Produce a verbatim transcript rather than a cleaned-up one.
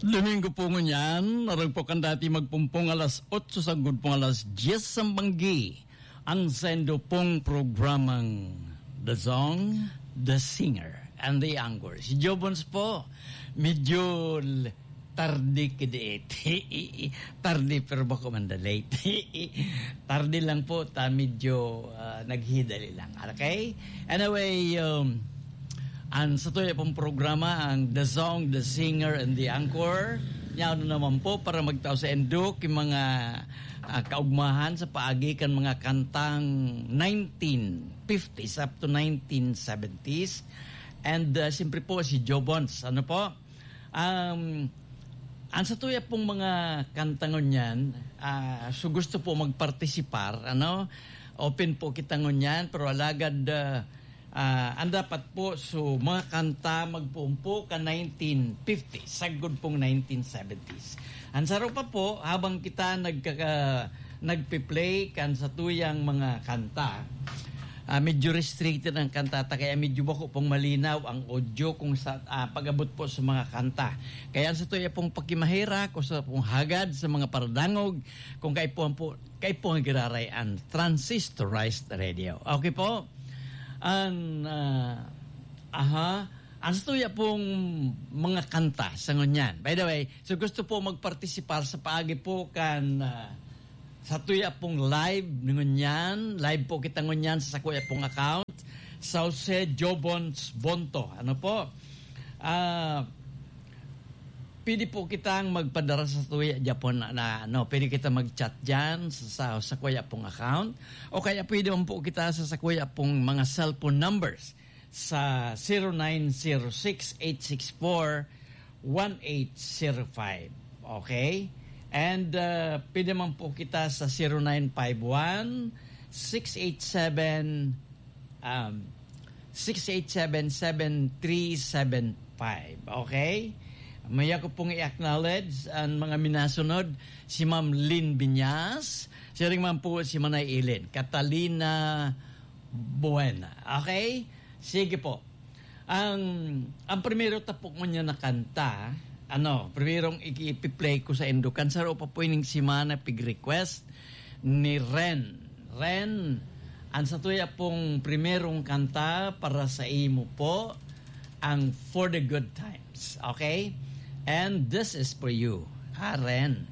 Domingo po ngunyan, naragpo kan dati magpumpong alas otso sagod pong alas diyes sa banggi. Ang sendo pong programang The Song, The Singer, and The Anchor. Si Jobons po, medyo l- tarde kidit. Tarde pero bako man da late. Tarde lang po, ta medyo ah, naghidali lang. Okay? Anyway, um, ang sa tuya pong programa, ang The Song, The Singer, and The Anchor. Yaon na naman po para magtao sa endok yung mga ah, kaugmahan sa paagi kan mga kantang nineteen fifties up to nineteen seventies. And uh, siyempre po si Jobons, ano po? Um, ang sa tuya pong mga kanta ngunyan, ah, so gusto po magpartisipar, ano? Open po kita ngunyan, pero alagad ah, ah, ang dapat po, so mga kanta magpuon po ka nineteen fifties, sagkod pong nineteen seventies. Ang saro pa po, habang kita nagkaka, nagpe-play kan sa tuyang mga kanta, ah, medyo restricted ang kanta ta, kaya medyo bako pong malinaw ang audio kung sa ah, pag-abot po sa mga kanta. Kaya ang sa tuya pong pakimahera, kung sa pong hagad sa mga paradangog, kung kaipuhan po, kaipuhan giraray ang transistorized radio. Okay po? Ang ah, aha, ang sa tuya pong mga kanta sa ngunyan. By the way, so gusto po magpartisipar sa paagi po kan ah, sa tuya pong live ngunyan, live po kita ngunyan sa sakuya pong account, Sauce Jobons Bonto. Ano po? Ah, pwede po kitang magpadara sa tuya Japon na, na ano, pwede kita mag-chat diyan sa, sa, sa kuya pong account, o kaya pwede man po kita sa, sa kuya pong mga cellphone numbers sa zero nine zero six eight six four one eight zero five. Okay? And uh, pwede man po kita sa zero nine five one six eight seven um, six eight seven seven three seven five. Okay? Maya ko pong i-acknowledge ang mga minasunod, si Ma'am Lynn Binyas, siring man po si Manay Ilin, Catalina Buena. Okay? Sige po. Ang ang primero tapok mo niya na kanta, ano, primerong iki-, ipi-play ko sa Indokan, saro pa po ining semana pig-request ni Ren. Ren, ang sa tuya pong primerong kanta para sa imo po, ang For the Good Times, okay? And this is for you, ha, Ren.